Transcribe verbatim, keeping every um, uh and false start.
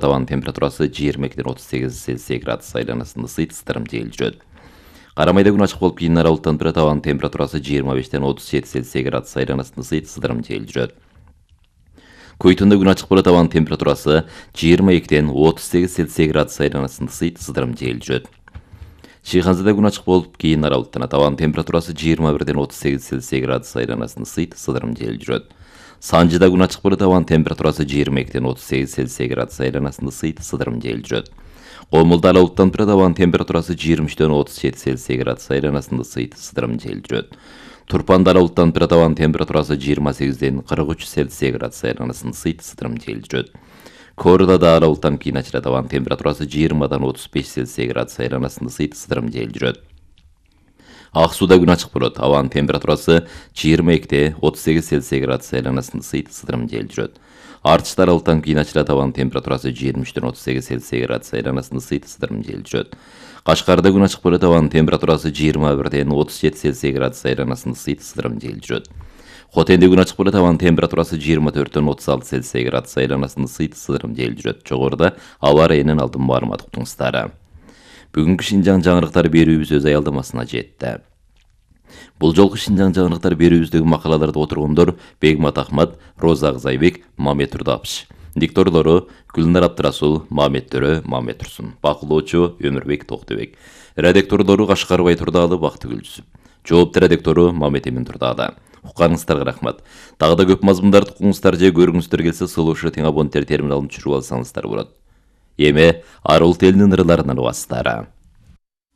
Tavan temperatурасы жыйырма экиден отуз сегиз Цельсий градус айланасында ысыйт, ысытырым жел жүрөт. Карамайда күн ачык болуп, кийин аралыктан турат. Табан температурасы жыйырма бештен отуз жети Цельсий градус айланасында ысыйт, ысытырым жел жүрөт. Койтунда күн ачык болот. Табан температурасы жыйырма экиден отуз сегиз Цельсий градус айланасында ысыйт, ысытырым жел жүрөт. Чыйханзада күн ачык болуп, кийин аралыктан табан температурасы жыйырма бирден отуз сегиз Цельсий градус айланасында ысыйт, ысытырым жел жүрөт. Санжыда күн ачык болот. Табан температурасы жыйырма экиден отуз сегиз Цельсий градус айланасында ысыйт, ысытырым жел жүрөт. Комулда аралыктан турат. Табан температурасы жыйырма үчтөн отуз жети Цельсий градус айланасында ысыйт, ысытырым жел жүрөт. Турпанда аралыктан турат. Табан температурасы жыйырма сегизден кырк үч Цельсий градус айланасында ысыйт, ысытырым жел жүрөт. Корда да аралыктан кийин ачылат. Табан температурасы жыйырмадан отуз беш Цельсий градус айланасында ысыйт, ысытырым жел жүрөт. Ак сууда күн ачык болот. Табан температурасы жыйырма экиде отуз сегиз Цельсий градус айланасында ысыйт, ысытырым жел жүрөт. Артышта аралыктан кийин ачылат. Табан температурасы жыйырма үчтөн отуз сегиз Цельсий градус айланасында ысыйт, ысытырым жел жүрөт. Кашкарда күн ачык болот. Табан температурасы жыйырма бирден отуз жети Цельсий градус айланасында ысыйт, ысытырым жел жүрөт. Хотенде күн ачык болот. Табан температурасы жыйырма төрттөн отуз алты Цельсий градус айланасында ысыйт, ысытырым жел жүрөт. Жогоруда аба ырайынын алдын маалымат уктуңуздар. Бүгүнкү Шинжаң жаңырыктары берүүбүз өз аялдамасына жетти. Бул жолку Шинжаң жаңырыктары берүүбүздөгү макалаларды отургондор Бегмат Ахмат, Роза Акзайбек, Мамет Турдапыш. Дикторлору Гүлнар Абдрасул, Мамет Төрө, Мамет Турсун. Бакылоочу Өмүрбек Токтобек. Редактордору Кашкарбай Турдаалы, Бактыгүл Жүсүп. Жоопту редактору Мамет Эмин Турдаалы. Укканыңыздарга рахмат. Дагы да көп мазмундарды укуңуздар же көргүңүздөр келсе, Сулушу тең абоненттер терминалын түшүрүп алсаңыздар болот. Эми Арул телинин ырыларынан убастары.